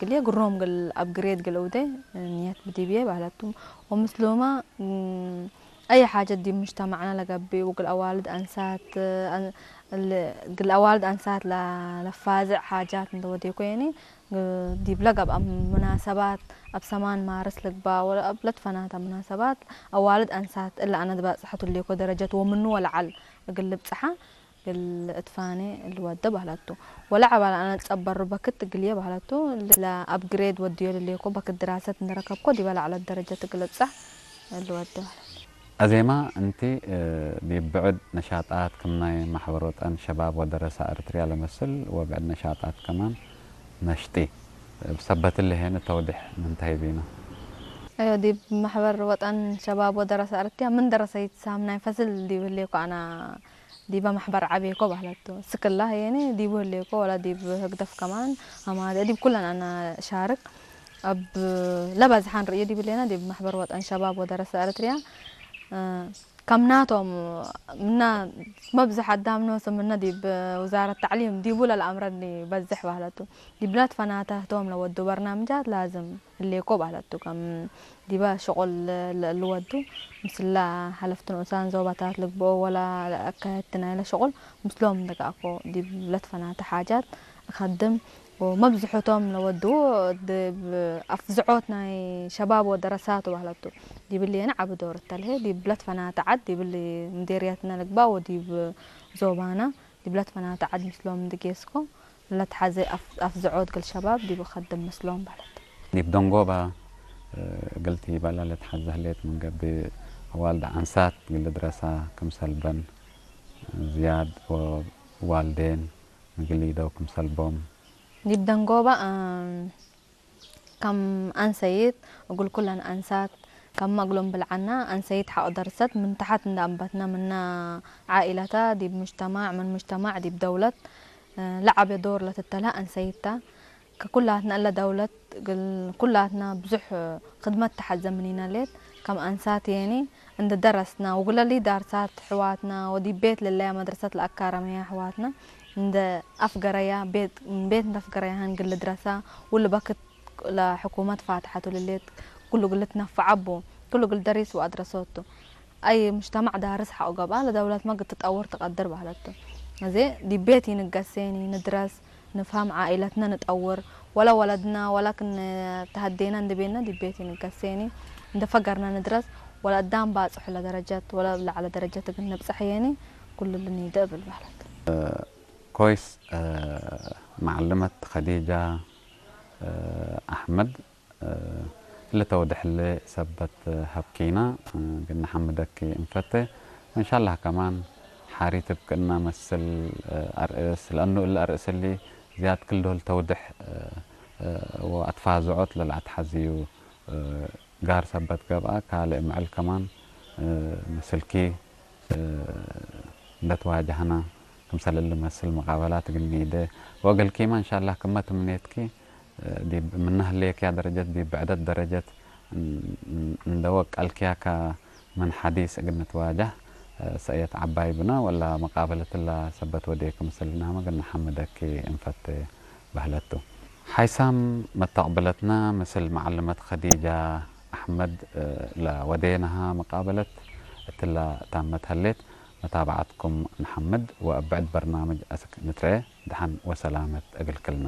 ግልየ ግሮም ግል ኣብ ግሬድ ግል እውደ ንየት ብዲብየ ባህላቱም ወምስሉማ እም፣ أي حاجة دي مجتمعنا لقبي وقل أوالد أنسات أن- ال- قل أوالد أنسات لا لفازع حاجات من دودي كويني دي بلقب أم مناسبات أب سمان مارس لقبا ولا أب لتفنات مناسبات أوالد أنسات إلا أنا دبا صحة اللي كو درجة ومنو ولا عل قل بصحة ግል እትፋኔ ልወደ ባህላቱ ወላ ዓባል ኣነ ጸበሩ በክት ግልየ ባህላቱ ላ ኣብ ግሬድ ወድዮ ልልየኮ በክት ድራሰት ንረከብኮ ዲበ ላዕለት ደረጀት ግል ብጻሕ ልወደ ባህላቱ። ኣዜማ እንቲ እ፣ ዲብ ብዕድ ነሻጣት ክም ናይ ማሕበር ወጠን ሸባብ ወደረሳ እርትርያ ለመስል ወብዕድ ነሻጣት ከማን ነሽጢ ብሰበት ለሄን ተውድሕ ምንታይ ቢና? أيوة دي محبر وطن شباب ودراسة أردتها من درسة يتسام ناي فصل دي بليكو أنا دي بمحبر عبيكو بحلتو سكلا هيني دي بليكو ولا دي بهقدف كمان أما دي بكلن أنا شارك أب لبز حان رئي دي بلينا دي بمحبر وطن شباب ودراسة أردتها أه كم ناتهم منا مبزح الدام نوس منا دي بوزارة التعليم دي بولا الأمر اللي بزح بحلتو دي بلاد فناته توم لو ودو برنامجات لازم اللي يكو بحلتو كم ዲበ ሽቑል ልወዱ ምስላ ሓለፍቲ ንኡሳን ዞባታት ልግብኦ ወላ ኣካየድቲ ናይለ ሽቑል ምስሎም ደጋኣኮ ዲብ ለትፈናተ ሓጃት እኸድም ወመብዝሑቶም ለወዱ ድብ ኣፍዝዖት ናይ ሸባብ ወደረሳት ባህለቱ ዲብልየነ ዓቢ ዶር እተልሄ ዲብ ለትፈናተ ዓድ ዲብል ምዴርያትና ልግባ ወዲብ ዞባና ዲብ ለትፈናተ ዓድ ምስሎም ድጌስኮ ለትሓዘ ኣፍዝዖት ግል ሸባብ ዲብ ኸድም ምስሎም በለት። ዲብ ደንጎባ ግልቲ በላ ለትሓዘ ህሌት ምን ገብእ ኣዋልድ ዓንሳት ግል ድረሳ ክምሰልበን ዝያድ ወዋልዴን ምግል ይደው ክምሰልቦም። ዲብ ደንጎባ ከም ኣንሰይት እጉል ኩለን ኣንሳት ከም መግሎም ብልዓና ኣንሰይት ሓቕ ደርሰት ምን ተሓት እንዳ ኣንበትና ምና ዓኢላታ ዲብ ሙጅተማዕ ምን ሙጅተማዕ ዲብ ደውለት ለዓብዮ ዶር ለትተልሀ ኣንሰይታ ከኩላትና እለ ደውለት ግል ኩላትና ብዙሕ ክድመት ተሓዘ ምኒና ሌት ከም ኣንሳት የኒ እንደ ደረስና ወጉለሊ ዳርሳት ሕዋትና ወዲብ ቤት ለለያ መድረሰት ለኣካረመያ ሕዋትና እንደ ኣፍገረያ ቤት ቤት እንደ ኣፍገረያ ሃን ግል ድረሳ ውል በክት ለሕኩመት ፋትሐቱ ልሌት ኩሉ ግል ትነፍዓቦ ኩሉ ግል ደሪስ ወኣድረሰቱ ኣይ ሙጅተማዕ ዳርስ ሓቆ ገብኣ ለደውለት መግድ ትጠውር ትቀድር ባህለቱ እዜ ዲብ ቤት ይንገሴኒ ንድረስ ንፍሀም ዓኢለትና ንጠውር ወላ ወለድና ወላ ክን ተሀዴና እንድቤና ዲብ ቤት ይንገሴኒ እንደ ፈገርና ንድረስ ወላ እዳም ባጽሑ ለደረጀት ወላ ለዓለ ደረጀት እግል ንብጸሕ የኒ ኩሉ ልኒደ እብል በህለት። ኮይስ መዓልመት ከዲጃ ኣሕመድ እለ ተውድሕለ ሰበት ሀብኪና ግን ንሐምደኪ እንፈተ ወእንሻላህ ከማን ሓሪት እብ ክእና መስል ኣርእስ ለአኑ እለ ኣርእስ እሊ ዝያድ ክል ዶል ተውድሕ ወአትፋዝዖት ለልአትሐዝዩ ጋር ሰበት ገብአ ካልእ ምዕል ከማን ምስልኪ እንደ ትዋጀህና ክምሰል እሊ መስል መቃበላት እግል ኒደ ወእግልኪመ እንሻላህ ክመ ትምኔትኪ ዲብ ምነ ህሌክያ ደረጀት ዲብ ብዕደት ደረጀት እንደ ወቀልክያ ከምን ሐዲስ እግል ንትዋጀህ ሰእየት ዐባይ ብነ ወላ መቃበለት እላ ሰበት ወዴ ክምስል ናመ እግል ነሐምደኪ እንፈቴ በህለቱ። ሓይሳም መተቅብለትና ምስል መዓልመት ከዲጃ ኣሕመድ ለወዴናሃ መቃበለት እትላ ታመት ሀሌት። መታብዓትኩም ንሓምድ ወእብ ብዕድ በርናምጅ አስክ ንትረኤ። ደሓን ወሰላመት እግል ክልና።